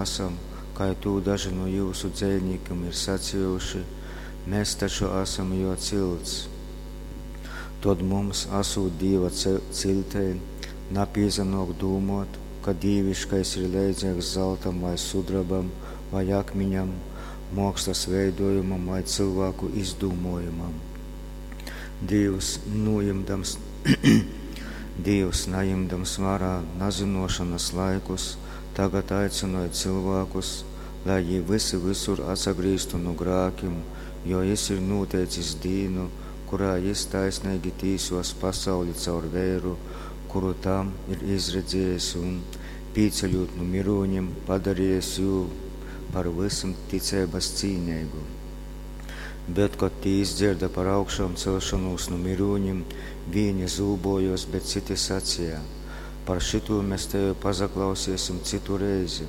Asam, kai tū daži nu jyusu dzejnīkim ir sacejuši, mes taču asam jō cilts. Tod mums, asūt Dīva ciļtei, napīsanōk dūmōt, ka dīviškais ir leidzeigs zaltam vai sudrabam, vai akmiņam, mōkslas veidōjumam vai cylvāku izdūmōjumam. Dīvs, nūjimdams, Dīvs, najimdams vārā nazynōšonas laikus, tagad aicynoj cylvākus, lai jī vysi vysur atsagrīztu nu grākim, jo Jys ir nūteicis dīnu, kurā Jys taisneigi tīsōs pasauli caur veiru, kuru tam ir izredzējis un, pīceļūt nu myrūnim, padarejis jū par vysim ticeibas cīneigu. Bet, kod tī izdzierda par augšamceļšonūs nu myrūnim, vīni zūbōjōs, bet citi saceja, Par šytū mes tevi pasaklauseisim cytu reizi.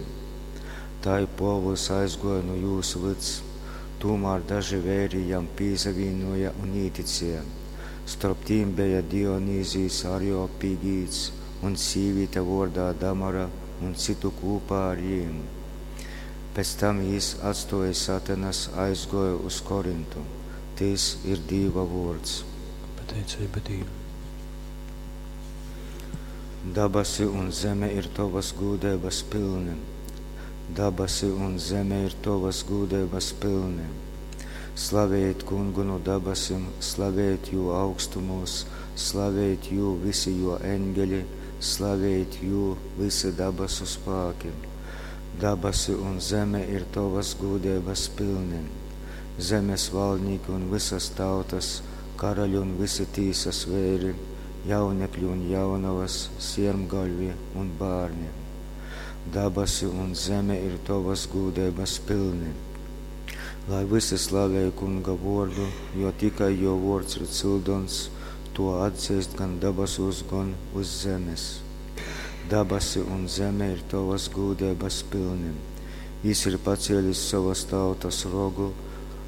Tai Pōvuls aizgōja nu jūs vyds. Tūmār daži veiri jam pīsavīnōja un īticēja. Storp tim beja Dionizijs Areopigīts un sīvīte vōrdā Damara un cytu kūpā ar jim. Pēc tam jys, atstōjis Atenas, aizgōja uz Korintu. Tys ir Dīva vōrds. Pateiceiba Dīvam. Dabasi un zeme ir tovas gūdeibas pylni. Dabasi un zeme ir tovas gūdeibas pylni. Slavejit Kungu nu dabasim, slavejit jū augstumūs, slavejit jū vysi jō eņgeli, slavejit jū vysi dabasu spāki. Dabasi un zeme ir tovas gūdeibas pylni. Zemes valdnīki un vysas tautas, karaļi un vysi tīsas veiri, jaunekļi un jaunovas, siermgaļvi un bārni. Dabasi un zeme ir tovas gūdeibas pylni. Lai vysi slavej Kunga vōrdu, jo tikai jō vōrds ir cyldons, tū atzeist gan dabasūs, gon uz zemes. Dabasi un zeme ir tovas gūdeibas pylni. Jys ir pacēlis sovas tautas rogu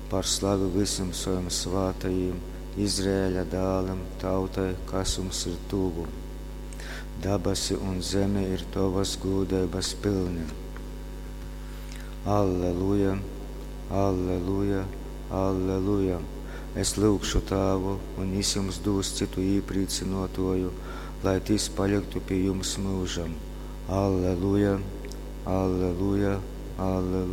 par slavi vysim sovim svātajim, Izraeļa dālim, tautai, kas jums ir tuvu. Dabasi un zeme ir tovas gūdeibas pylni. Alleluja, alleluja, alleluja. Es lyugšu Tāvu, un jys jums dūs cytu īprīcynōtōju, lai tys paliktu pi jums myužam. Alleluja, alleluja, alleluja.